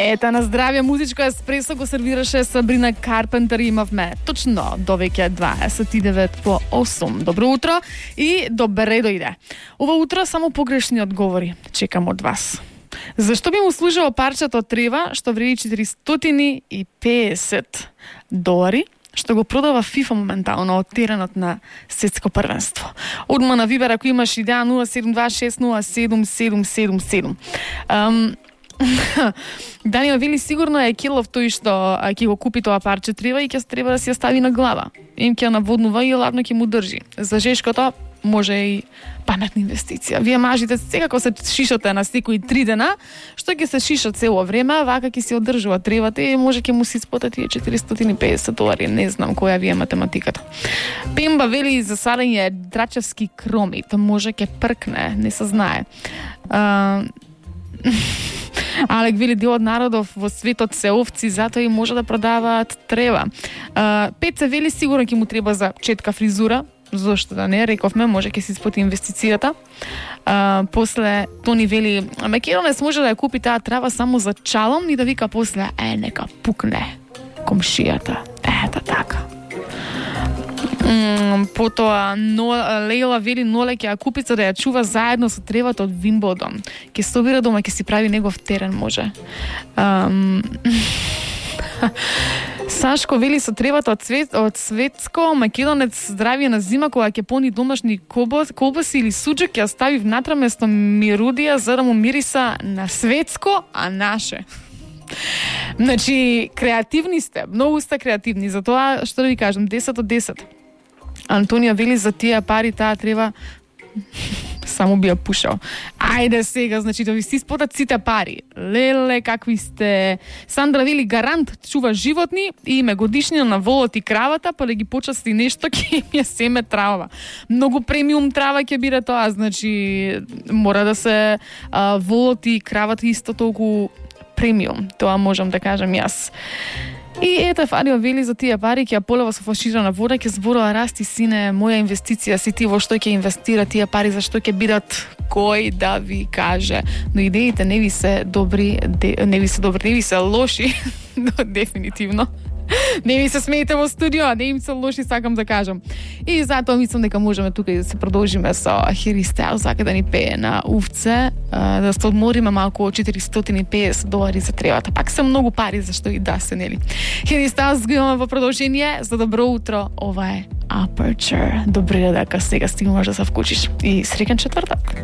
Ета на здравје музичко еспресо го сервираше Сабрина Карпентер и имавме точно до веќе 29:08. Добро утро и добре дојде. Ова утро само погрешни одговори чекам од вас. Зашто би му служило парчето од трева што вреди $450, што го продава FIFA моментално од теренот на светско првенство? Одма на Вибер ако имаш идеја 072607777. Даниел вели сигурно е Килов тој што ќе го купи тоа парче трева и ќе треба да си ја стави на глава. Им ќе наводнува и ладно ќе му држи. За жешкото може и паметна инвестиција. Вие мажите секако се шишате на секои 3 дена, што ќе се шишат цело време, вака ќе се одржува тревата и може ќе му се исплати тие $450. Не знам која ви е математиката. Пемба вели за сарење драчевски кромит, може ќе пркне, не се знае. Алек вели дел од народов во светот се овци, затоа и може да продаваат трева. Пеца вели сигурно ќе му треба за четка фризура, зошто да не, рековме, може ќе се исплати инвестицијата. После Тони вели Македонец може да ја купи таа трава само за чалом и да вика после нека пукне комшијата. Ета така. Потоа Лейла вели Ноле ќе ја купи за да ја чува заедно со тревата од Вимблдон. Ќе собира дома, ќе си прави негов терен, може. Сашко вели со тревата од светско Македонец здравје на зима кога ќе пони домашни колбаси или суџак ќе ја стави внатре место мирудија за да му мириса на светско, а наше. Значи, креативни сте, многу сте креативни, затоа што да ви кажам, 10 од 10. Антонија вели за тие пари таа треба само би ја пушал. Ајде сега, значи да ви си исплатат сите пари. Леле, какви сте. Сандра вели гарант чува животни и име годишнина на волот и кравата, па да ги почасти нешто ќе им ја семе трава. Многу премиум трава ќе биде тоа, значи мора да се волот и кравата исто толку премиум. Тоа можам да кажам јас. И ете Фарио вели за тие пари ќе ја полева со флаширана вода, ќе зборува расти сине, моја инвестиција си ти во што ќе инвестира тие пари, зашто ќе бидат кој да ви каже. Но идеите не ви се добри, не ви се лоши, но дефинитивно. Не ми се смеете во студио, не им се лоши, сакам да кажам. И затоа мислам дека можеме тука и да се продолжиме со Harry Styles, сака да ни пее на увце, да се одмориме малку од $450 за тревата. Пак се многу пари, зашто и да се, нели? Harry Styles го имаме во продолжение. За добро утро, ова е Aperture. Добре дека сега стигнуваш да се вклучиш. И среќен четвртак.